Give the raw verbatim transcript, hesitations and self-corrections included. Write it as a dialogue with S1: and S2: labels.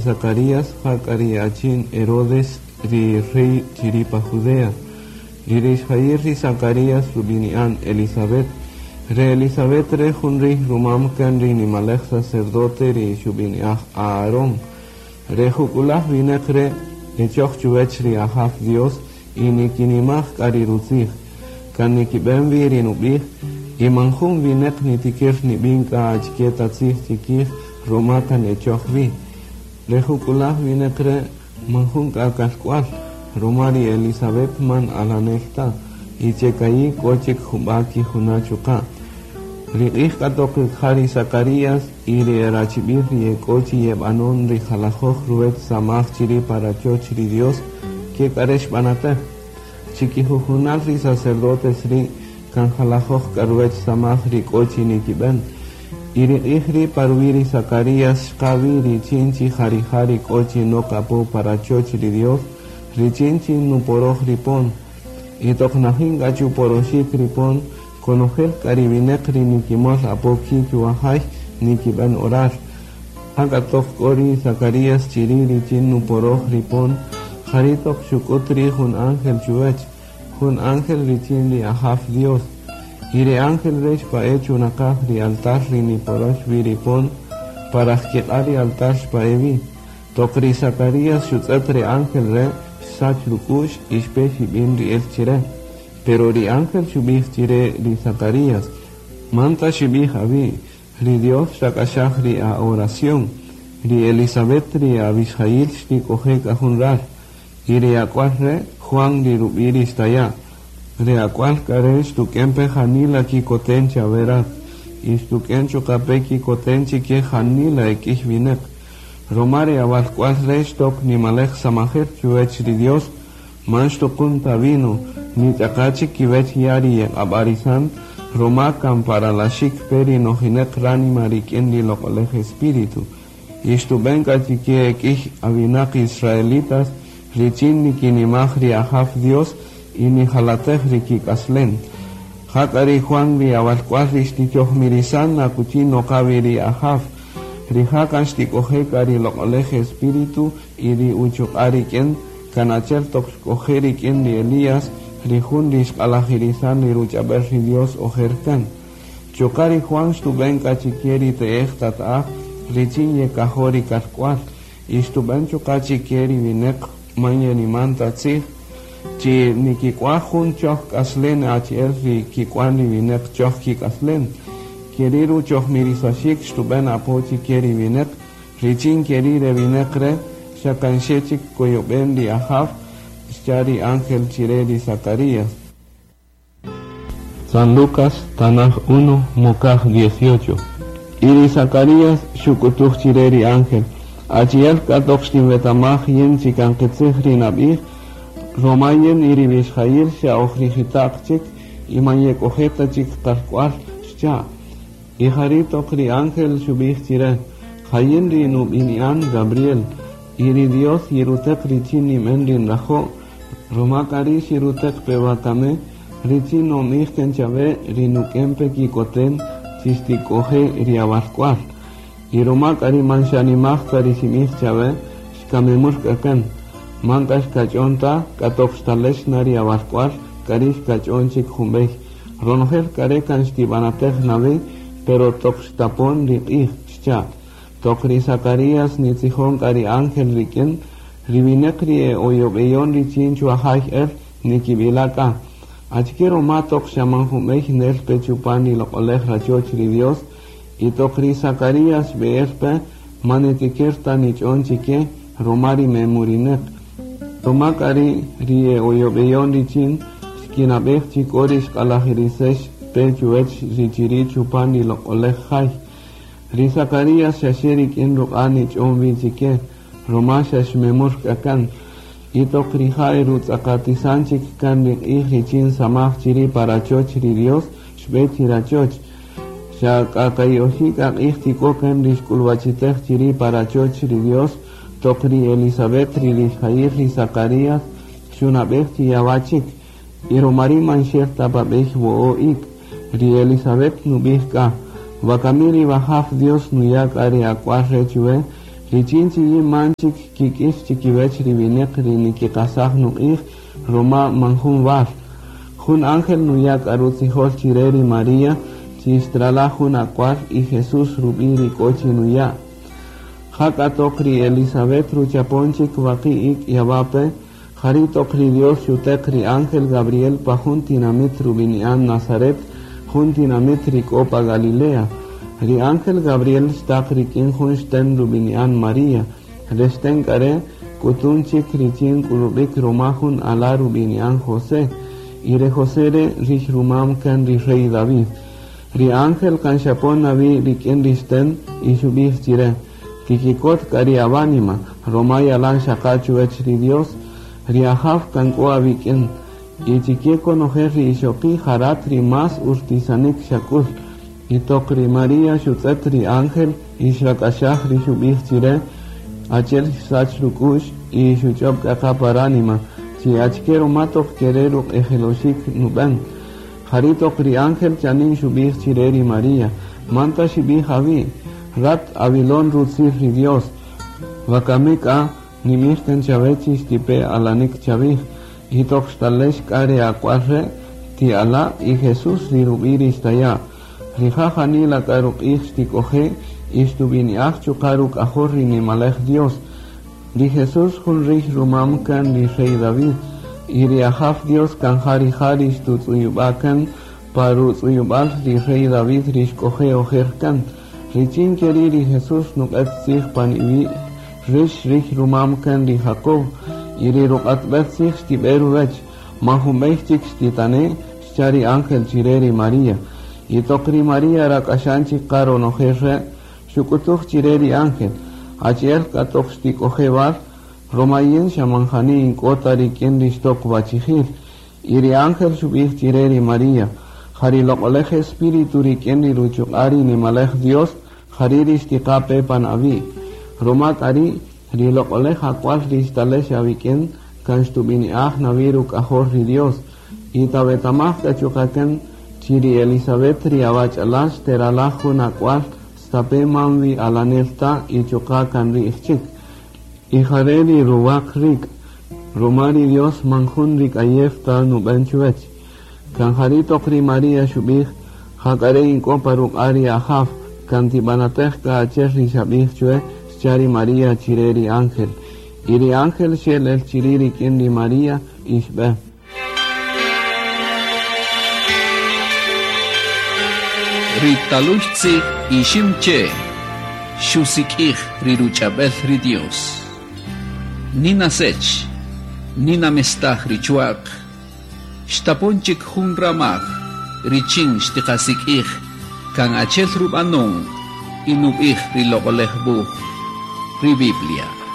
S1: Zacarías ja k'a ri achin Herodes ri rey chiri' pa Judea. Y ri rixjayil ri Zacarías rub'ini'an Elisabet. Re Elisabet re jun riy rumam kan ri nimalej sacerdote ri xub'ini'aj Aarón. Re juk'ulaj winäq re' echoj chuwech ri Ajaw Dios y nikinimaj k'a ri rutzij. Kan nikib'en wi ri nub'ij y man jun winäq nitikir nib'in k'a achike ta tzij chikij ruma kan echoj wi. Re juk'ulaj winäq re' man jun k'a kalk'wal, ruma ri Elisabet man alanel ta, y che ka'i' k'o chik jub'a' kijuna' chuqa'. Ri q'ij k'a toq ja ri Zacarías y ri e rachib'il ri e k'o chi yeb'anon ri jalajoj ruwech samaj chiri' pa rachoch ri Dios, ke k'a re' xb'anatej. Chikijujunal ri sacerdotes ri' kan jalajoj k'a ruwech samaj ri k'o chi nikib'en. Y ri q'ij ri' pa ruwi' ri Zacarías xqa wi richin chi ja rija' ri k'o chi nok apo pa rachoch ri Dios, richin chi nuporoj ri pon. Y toq najin k'a chuporoxik ri pon, konojel k'a ri winäq ri nikimol apo ki' chuwajay nikib'en orar. Jak'a toq k'o ri Zacarías chiri' richin nuporoj ri pon, jari' toq xuk'ut ri' jun ángel chuwech, jun ángel richin ri Ajaw Dios. Y ri ángel re' xpa'e' chunaqaj ri altar ri niporox wi ri pon, pa rajkiq'a' ri altar xpa'e' wi. Toq ri Zacarías xutz'et ri ángel re' xsach ruk'u'x y xpe xib'in ri'el chire. Pero ri ángel xub'ij chire ri Zacarías: Man ta xib'ij awi', ri Dios xrak'axaj ri a-oración. Ri Elisabet ri awixjayil xtik'oje' k'a jun ral. Y ri ak'wal re' Juan ri rub'i' ri xtaya'. Ri ak'wal k'a re' xtuk'en pe janila kikoten chawe rat, y xtuk'en chuqa' pe kikoten chike janila e k'iy winäq. Ruma ri awalk'wal re' xtok nimalej samajel chuwech ri Dios, man xtuqun ta vino, ni ch'aqa chik kiwech ya' ri yeq'ab'arisan, ruma kan pa ralaxik pe ri nojinäq ránima rik'in ri Loq'olej Espíritu. Y xtub'en k'a chike e k'iy awinaq israelitas richin nikinimaj ri Ajaw Dios y nijalatej ri kik'aslen. Jak'a ri Juan ri awalk'wal ri xtichojmirisan akuchi noqa wi ri Ajaw. Rija' kan xtik'oje' k'a ri Loq'olej Espíritu y ri uchuq'a' rik'in, kan achi'el toq xk'oje' rik'in ri Elías, ri jun ri xq'alajirisan ri ruch'ab'el ri Dios ojer kan. Chuqa' ri Juan xtub'en k'a chike ri te'ej tata'aj richin yekajo' ri kalk'wal, y xtub'en chuqa' chike ri winäq man yeniman ta tzij, chi nikik'waj jun choj k'aslen achi'el ri kik'wan ri winäq choj kik'aslen. Keri' ruchojmirisaxik xtub'en apo chike ri winäq, richin keri' re winäq re' xa kan xe chik koyob'en ri Ajaw, xcha' ri ángel chire ri Zacarías. San Lucas, Tanaj uno, Mokaj dieciocho. Y ri Zacarías xuk'utuj chire ri ángel: Achi'el k'a toq xtinwetamaj yin chi kan qitzij ri nab'ij, ruma yin y ri wixjayil xa oj rijita'q chik y man yek'oje' ta chik qalk'wal, xcha'. Y jari' toq ri ángel xub'ij chire: Ja yin ri nub'ini'an Gabriel, y ri Dios yiruteq richin ninb'en ri nrajo', ruma k'a ri' xiruteq pe wakami, richin nonb'ij kan chawe ri nuk'en pe kikoten chi xtik'oje' ri awalk'wal. Y ruma k'a ri man xanimaj ta ri xinb'ij chawe, xkamemur k'a kan. Man k'a xkach'on ta, k'a toq xtalex na ri awalk'wal, k'a ri' xkach'on chik jun b'ey. Ronojel k'a re' kan xtib'anatej na wi, pero toq xtapon ri q'ij, xcha'. Toq ri Zacarías nitzijon k'a ri ángel rik'in, ri winäq ri e oyob'eyon richin chuwajay el nikib'ila' k'a: Achike ruma toq xa man jun b'ey nel pe chupan ri loq'olej rachoch ri Dios? Y toq ri Zacarías xb'e'el pe, man nitikir ta nich'on chike ruma ri memurinäq. Ruma k'a ri' ri e oyob'eyon richin xkinab'ej chi k'o ri xq'alajirisex pe chuwech ri chiri' chupan ri loq'olej jay. Ri Zacarías xa xe rik'in ruq'a' nich'on wi chike, ruma xa xmemur k'a kan. Y toq rija' erutz'aqatisan chik kan ri q'ij richin samaj chiri' pa rachoch ri Dios, xb'e chi rachoch. Xa k'a ka'i' oxi' k'a q'ij tik'o kan ri xk'ulwachitej chiri' pa rachoch ri Dios, toq ri Elisabet ri rixjayil ri Zacarías xunab'ej chi yawa' chik. Y ruma ri' man xel ta pa b'ey wo'o' ik'. Ri Elisabet nub'ij k'a: Wakami ri Wajaw Dios nuya' k'a ri ak'wal re' chuwe, Richin chi yin man chik kik'ix chikiwech ri wineq ri nikiqasaj nuq'ij roma man jun wal. Jun ángel nuya' k'a rutzijol chire ri María chi xtralaj jun ak'wal y Jesús rub'i' ri k'o chi nuya'. Jak'a toq ri Elizabeth ruchapon chik waqi' ik' yawape, jari' toq ri Dios xuteq ri ángel Gabriel pa jun tinamit rub'ini'an Nazaret, jun tinamit ri k'o pa Galilea. Ri ángel Gabriel xtaq rik'in jun xten rub'ini'an María. Re xten k'a re' k'utun chik richin k'ulub'ik roma jun ala' rub'ini'an José. Y re José re' rix rumam kan ri rey David. Ri ángel kan xapon nawi rik'in ri xten y xub'ij chire: Tikikot k'a ri awánima, roma yalan xaqa chuwech ri Dios, ri Ajaw kan k'o awik'in. Y chike konojel ri ixoqi' ja rat ri más urtisanik xak'ul. Y toq ri María xutz'et ri ángel y xrak'axaj ri xub'ij chire, achi'el xsach ruk'u'x y xuch'ob' k'a qa pa ránima, chi achike roma toq kere' ruq'ejeloxik nub'en. Jari' toq ri ángel chanin xub'ij chire ri María: Man taxib'ij awi', rat awilon rutzil ri Dios. Wakami k'a nimij kan chawe chi xtipe alanik chawij, y toq xtalex k'a re ak'wal re' ti ala' y Jesús ri rub'i' ri xtaya'. Rija' janila k'a ruq'ij xtik'oje' y xtub'ini'aj chuqa' ruk'ajol ri nimalej Dios. Ri Jesús jun rix rumam kan ri rey David, y ri Ajaw Dios kan ja rija' ri xtutz'uyub'a' kan pa rutz'uyub'al ri rey David ri xk'oje' ojer kan. Richin keri' ri Jesús nuq'et tzij pan iwi' rix rix rumam kan ri Jacob, y ri ruq'atb'el tzij xtib'e ruwech. Man junb'ey chik xtitane', xcha' ri ángel chire ri María. Y toq ri María rak'axan chik qa ronojel re', xuk'utuj chire ri ángel: Achi'el k'a toq xtik'oje' wal, roma yin xa man jani ink'o ta rik'in ri xtok wachijil. Y ri ángel xub'ij chire ri María: Ja ri loq'olej Espíritu rik'in ri ruchuq'a' ri nimalej Dios, jari' ri xtiqa pe pan awi'. Roma k'a ri' ri loq'olej ak'wal ri xtalex awik'in kan xtub'ini'aj nawi ruk'ajol ri Dios. Y tawetamaj k'a chuqa' kan chi ri Elizabeth ri awach'alal xteralaj jun ak'wal stape' man wi alanel ta y chuqa' kan ri'j chik. Y jare' ri ruwaq rik', roma ri Dios man jun rik'ayew ta nub'en chuwech. Kan jari' toq ri María xub'ij: Jak'a re' ink'o pa ruq'a' ri Ajaw, kan tib'anatej k'a achi'el ri xab'ij chwe, xcha' ri María chire ri ángel. Y ri ángel xel el chiri' rik'in ri María y xb'e.
S2: Ri talux tzij ixim che xusik'ij ri ruch'ab'el ri Dios. Nina sech, nina mestaj ri chuaq, xtapon chik jun ramaj, richin xtiqasik'ij, kan achel rub'anon y nub'ij ri loq'olej wuj, ri Biblia.